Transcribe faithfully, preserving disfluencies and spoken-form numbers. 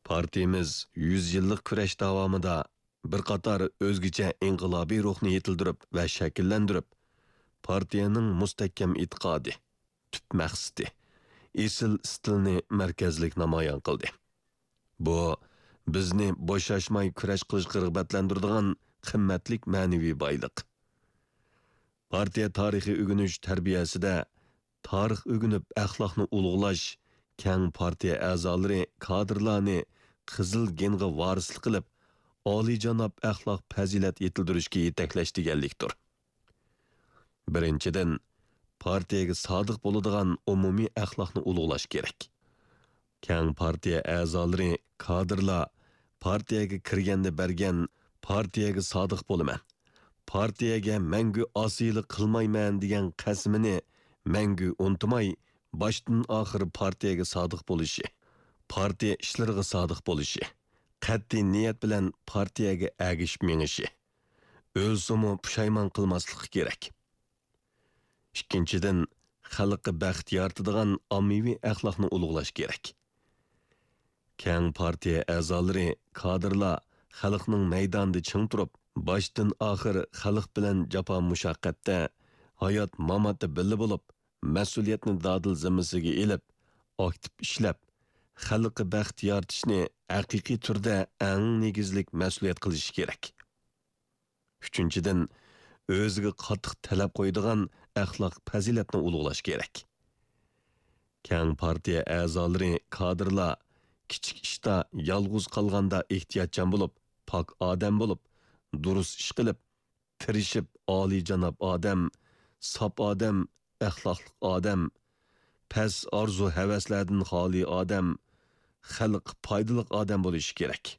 پارتىيىمىز يۈز يىللىق كۈرەش داۋامىدا بىر قاتار ئۆزگىچە ئىنقىلابىي روھنى يېتىلدۈرۈپ ۋە شەكىللەندۈرۈپ، پارتىيەنىڭ مۇستەھكەم ئېتىقادى، تۈپ مەقسىتى، ئېسىل ئىستىلنى مەركەزلىك نامايان قىلدى. بۇ بىزنى بوشاشماي كۈرەش قىلىشقا رىغبەتلەندۈرىدىغان قىممەتلىك مەنىۋى بايلىق. پارتىيە تارىخىي ئۆگىنىش تەربىيەسىدە تارىخ ئۆگىنىپ ئەخلاقنى ئۇلۇغلاش، كەڭ پارتىيە ئەزالىرى، كادىرلارنى قىزىل گېنغا ۋارىسلىق قىلىپ، ئالىيجاناب ئەخلاق پەزىلەت يېتىلدۈرۈشكە يېتەكلەش دېگەنلىكتۇر. بىرىنچىدىن، پارتىيەگە سادىق بولىدىغان ئومۇمىي ئەخلاقنى ئۇلۇغلاش كېرەك. كەڭ پارتىيە ئەزالىرى، كادىرلار پارتىيەگە كىرگەندە بەرگەن «پارتىيەگە سادىق بولىمەن، پارتىيەگە مەڭگۈ ئاسىيلىق قىلمايمەن» دېگەن قەسىمىنى مەڭگۈ ئۇنتۇماي، باشتىن ئاخىر پارتىيەگە سادىق بولۇشى، پارتىيە ئىشلىرىغا سادىق بولۇشى، قەتئىي نىيەت بىلەن پارتىيەگە ئەگىشىپ مېڭىشى، ئۆلسىمۇ پۇشايمان قىلماسلىقى كېرەك. ئىككىنچىدىن، خەلققە بەخت يارىتىدىغان ئاممىۋى ئەخلاقنى ئۇلۇغلاش كېرەك. كەڭ پارتىيە ئەزالىرى، كادىرلار خەلقنىڭ مەيدانىدا چىڭ تۇرۇپ، باشتىن ئاخىر خەلق بىلەن جاپا مۇشەققەتتە، ھايات ماماتتا بىللە بولۇپ، مەسئۇلىيەتنى دادىل زىممىسىگە ئېلىپ، ئاكتىپ ئىشلەپ، خەلققە بەخت يارىتىشنى ھەقىقىي تۈردە ئەڭ نېگىزلىك مەسئۇلىيەت قىلىشى كېرەك. ئۈچىنچىدىن، ئۆزىگە قاتتىق تەلەپ قويىدىغان ئەخلاق پەزىلەتنى ئۇلۇغلاش كېرەك. كەڭ پارتىيە ئەزالىرى، كادىرلار كىچىك ئىشتا، يالغۇز قالغاندا ئېھتىياتچان بولۇپ، پاك ئادەم بولۇپ، دۇرۇس ئىش قىلىپ، تىرىشىپ، ئالىيجاناب ئادەم، ساپ ئادەم، ئەخلاقلىق ئادەم، پەس ئارزۇ-ھەۋەسلەردىن خالىي ئادەم، خەلققە پايدىلىق ئادەم بولۇشى كېرەك.